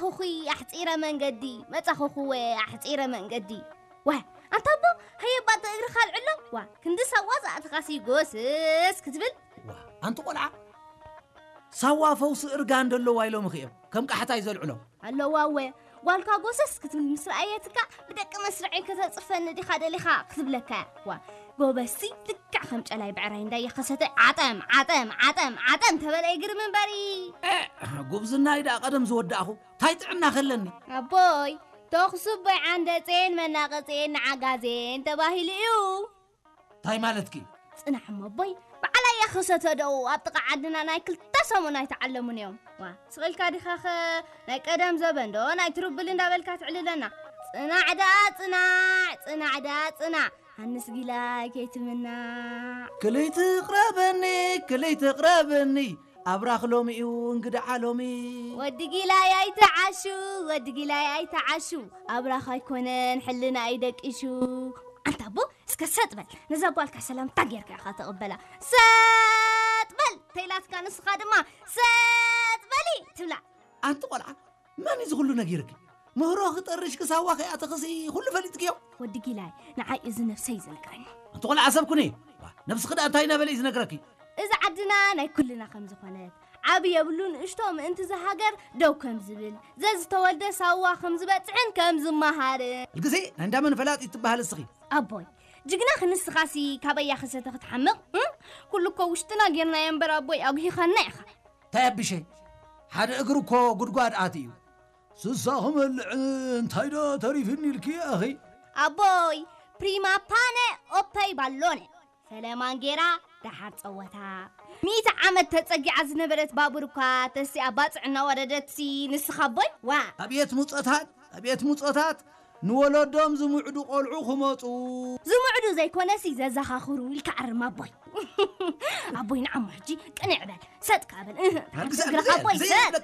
መጻኹኹይ ኣሕጺረ መንገዲ፣ መጻኹኹወ ኣሕጺረ መንገዲ። ዋ፣ ኣንታ ኣቦ፣ ሃየ ባጥ እግርኻ ኣልዕሎ። ዋ፣ ክንዲ ሳዋ ዝኣትኻሲ ጎስስ ክትብል። ዋ፣ ኣንቲ ቆልዓ፣ ሳዋ ፈውሲ እርጋን ደለዋ ኢሎም እኺ እዮም ከም ቃሕታይ ዘልዕሎ። ኣለዋ እወ፣ ጓልካ ጎሰስ ክትብል ምስ ረኣየትካ ብደቂ መስርዐይ ከተጽርፈኒ ዲኻ ደሊኻ ክትብለካ እያ። ዋ፣ ጎበዝሲ ልክዕ ከም ጨላይ ብዕራይ እንዳየኸሰተ ዓጠም፣ ዓጠም፣ ዓጠም፣ ዓጠም ተበለ ይግርም እምበሪ። ጉብዝናይ ደኣ ቀደም ዝወዳእኹ፣ ታይ ጥዕና ከለኒ? ኣቦይ፣ ተኹሱ ኣቦይ ዓንደጼን መናቐጼን ንዓጋዜን ተባሂሉ እዩ። ታይ ማለትኪ? ጽናሕ እሞ ኣቦይ፣ በዓል ኣየኸሰተ ደኡ ኣብ ጥቓ ዓድና ናይ ክልተ ሰሙን ኣይተዓለሙን እዮም። ዋ፣ ስቕ ኢልካ ዲኻኸ ናይ ቀደም ዘበን ዶ ናይ ትሩብል እንዳበልካ ትዕልለና? ጽናዕ ደኣ ጽናዕ፣ ጽናዕ ደኣ ጽናዕ፣ ሃንስ ጊላይ ከይትምናዕ። ክልይ ትቕረበኒ፣ ክልይ ትቕረበኒ፣ ኣብራኽ ሎሚ እዩ እንግድዓ ሎሚ። ወዲ ጊላይ ኣይተዓሹ፣ ወዲ ጊላይ ኣይተዓሹ፣ ኣብራኽ ኣይኮነን ሕልና እዩ ደቂሹ። ኣንታ ኣቦ፣ እስከ ሰጥ በል፣ ነዛ ጓልካ ሰላምታ ጌርካ ኢኻ ተቕበላ። ሰጥ በል ተይላትካ ንስኻ ድማ ሰጥ በሊ ትብላ። ኣንቲ ቆልዓ፣ መን እዩ እዚ ኩሉ ነጊርኪ? ምህሮ ክጠርሽ ክሳዋ ከይኣተኽሲ ኩሉ ፈሊጥክዮ? ወዲ ጊላይ፣ ንዓይ እዚ ነብሰይ እዩ ዝነግረኒ። ኣንቲ ቆልዓ፣ ሰብ ኩኒ። ዋ፣ ነብስኺ ደኣ እንታይ እናበለ እዩ ዝነግረኪ? እዚ ዓድና ናይ ኩልና ከም ዝኾነት፣ ዓቢ የብሉ ንእሽቶ ምእንቲ እዚ ሃገር ደው ከም ዝብል፣ ዘዝተወልደ ሳዋ ከም ዝበጽሕን ከም ዝመሃርን። ግዜ ናይ እንዳመን ፈላጥ ትበሃል እስኺ? ኣቦይ፣ ጅግና ክንስኻሲ ካበያ ከሰተ ክትሓምቕ? እም? ኩሉ እኮ ውሽጥና ጌርናዮ እምበር ኣቦይ፣ ኣጉሂኻና ኢኻ። እንታይ ኣቢሸ? ሓደ እግሪ እኮ ጉድጓድ ኣትዩ። ስሳ ክመልዕ እንታይ ዶ ተሪፍኒ ኢልኪ ኣኺ? ኣቦይ፣ ፕሪማ ፓነ ኦፐይ ባሎነ። ሰለማን ጌራ ደሓር ጸወታ። ሚእቲ ዓመት ተጸጊዓ ዝነበረት ባቡር እኳ ተሲኣ ባጽዕ እናወረደትሲ ንስኻ ኣቦይ? ዋ! ኣቤት ሙጸታት፣ ኣቤት ሙጸታት፣ ንወለዶም ዝምዕዱ ቆልዑ ክመጹ። ዝምዕዱ ዘይኮነሲ ዘዘኻኽሩ ኢልካ ኣርም ኣቦይ። ኣቦይ ንዓሞ ሕጂ ቅንዕ በል፣ ሰጥ ከኣ በል። እህ፣ ሓንቲ እግርኻ ኣቦይ ሰጥ።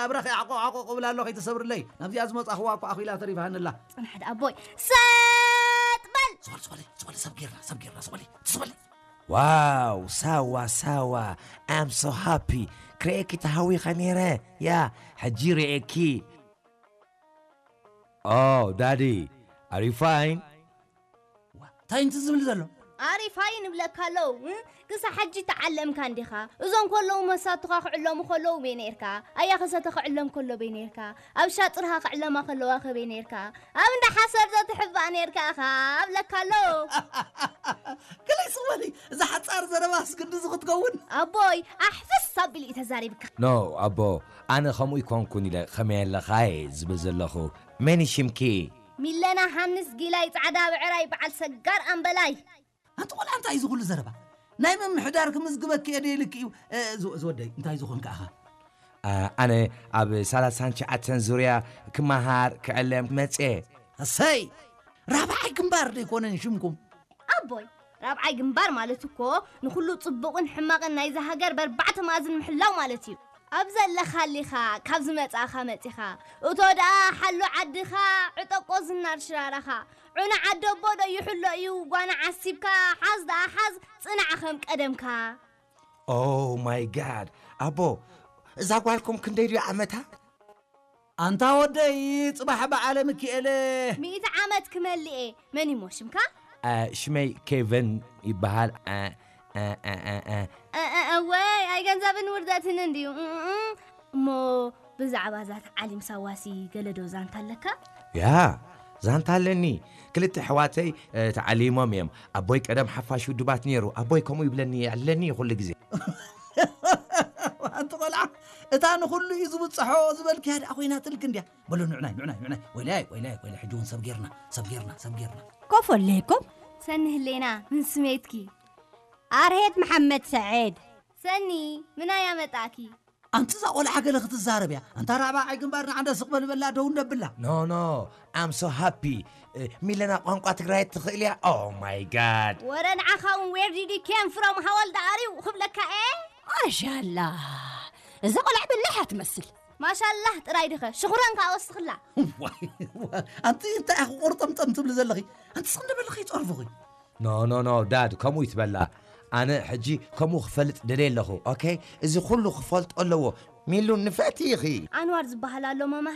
ኣብራኺ ዓቆ ዓቆ ክብል ኣሎ ከይትሰብርለይ። ናብዚኣ ዝመጻኽዋ እኮ ኣኺላ ተሪፋሃንላ። ጽናሕ ደኣ ኣቦይ፣ ሰጥ በል። ስበል፣ ስበል፣ ስበል፣ ሰብ ጌርና፣ ሰብ ጌርና፣ ስበል፣ ስበል። ዋው፣ ሳዋ፣ ሳዋ፣ I'm so happy። ክርእየኪ ተሃዊኸ ነይረ። ያ፣ ሕጂ ርእየኪ። Oh, Daddy, are you fine? ዋ፣ እንታይ እንት ዝብል ዘሎ? ኣሪፋይ ንብለካ ኣለዉ፣ እ? ክሳብ ሕጂ ተዓለምካ እንዲኻ። እዞም ከለዉ መሳቱኻ ክዕለሙ ከለዉ በይ ነይርካ። ኣያ ከሰተ ክዕለም ከሎ በይ ነይርካ። ኣብ ሻጥርኻ ክዕለማ ከለዋ ከበይ ነይርካ። ኣብ እንዳ ሓሰር ዶ ትሕባእ ነይርካ ኢኻ? ኣብለካ ኣለዉ። ገለ ይስወኒ፣ እዛ ሓጻር ዘረባስ ክንድዚ ክትከውን? ኣቦይ፣ ኣሕፍስ ኣቢሉ እዩ ተዛሪብካ። ኖ፣ ኣቦ፣ ኣነ ከምኡ ይኮንኩን ኢለ ከመይ ኣለኻ እየ ዝብል ዘለኹ። መን እዩ ሽምኪ? ሚለና ሃንስ ጊላይ ጻዕዳ ብዕራይ በዓል ሰጋር ኣምበላይ። ኣንቲ ቆልዓ፣ እንታይ እዩ እዚ ኩሉ ዘረባ? ናይ ምምሕዳር ክምዝግበኪ እየ ደይልኪ እዩ። እ፣ ዝ-፣ ዝወደይ፣ እንታይ ዝኾንካ ኢኻ? ኣ፣ ኣነ ኣብ ሰላሳን ትሽዓተን ዙርያ ክመሃር ክዕለም መጽየ። እሰይ! ራብዓይ ግንባር ደይኮነን ሽምኩም? ኣቦይ፣ ራብዓይ ግንባር ማለት እኮ ንኹሉ ጽቡቕን ሕማቕን ናይዛ ሃገር በርባዕተ መኣዝን ምሕላው ማለት እዩ። ኣብ ዘለኻሊኻ፣ ካብ ዝመጻእኻ መጺኻ፣ እቶ ደኣ ሓሉ ዓድኻ፣ ዕጠቆ ዝናር ሽራራኻ። ዑና ዓደቦ ዶ ይሕሎ እዩ፣ ጓና ዓሲብካ፣ ሓዝ ደኣ ሓዝ፣ ጽናዕ ከም ቀደምካ። Oh my God! ኣቦ፣ እዛ ጓልኩም ክንደይ ድዩ ዓመታ? ኣንታ ወደይ፣ ጽባሕ በዓለ ሚኪኤለ። ሚእቲ ዓመት ክመልእ እየ። መን እሞ ሽምካ? ኣ፣ ሽመይ ኬቨን ይበሃል። ኣ፣ ኣ፣ ኣ፣ ኣ፣ ኣ። እ፣ እ፣ እወይ፣ ኣይገንዘብን ውርደትን እንድዩ። እ፣ እ፣ እ። እሞ ብዛዕባ እዛ ተዓሊም ሳዋሲ ገለ ዶ ዛንታ ኣለካ? ያ፣ ዛንታ ኣለኒ። ክልተ ኣሕዋተይ፣ እ፣ ተዓሊሞም እዮም። ኣቦይ ቀደም ሓፋሽ ውድባት ነይሩ። ኣቦይ ከምኡ ይብለኒ፣ የዕልለኒ እዩ ኩሉ ግዜ። ኣንቲ ቆልዓ፣ እታ ንኹሉ እዩ ዝብጽሖ ዝበልክያ ደኣ ኮይናትልኪ እንድያ። በሉ ንዑናይ፣ ንዑናይ፣ ንዑናይ። ወይላይ፣ ወይላይ፣ ወይላይ፣ ሕጂ እውን ሰብ ጌርና፣ ሰብ ጌርና፣ ሰብ ጌርና። ኮፍ ኣለይኩም። ሰኒ ህሌና፣ ምን ስሜትኪ? ኣርሄት መሓመድ ሰዒድ። ሰኒ፣ ምናይ ኣመጣኪ? ኣንቲ እዛ ቆልዓ ገለ ክትዛረብ እያ። ኣንታ ራብዓይ ግንባር ንዓንዳ ስቕ በል በላ፣ ደው ነብላ። ኖ፣ ኖ፣ I'm so happy። እ፣ ሚለና ቋንቋ ትግራይ ትኽእል እያ? Oh my God። ወረ ንዓኻ እውን where did you came from? How old are you? ክብለካ እየ። ማሻላ፣ እዛ ቆልዓ በላሕ እያ ትመስል። ማሻላህ ጥራይ ድኸ? ሽኹረን ከኣ ወስኽላ። ዋይ፣ ዋይ፣ ኣንቲ እንታይ ኢኺ ቁርጥምጥም ትብሊ ዘለኺ? ኣንቲ ስኽ እንደ በልኺ ይጸርፉኺ። ኖ፣ ኖ፣ ኖ፣ ዳድ፣ ከምኡ ይትበላ። ኣነ ሕጂ ከምኡ ክፈልጥ ደልየ ኣለኹ። ኦኬ? እዚ ኩሉ ክፈልጦ ኣለዎ። ሚሉ ንፍዕቲ ኢኺ። ኣንዋር ዝበሃል ኣሎ መማህ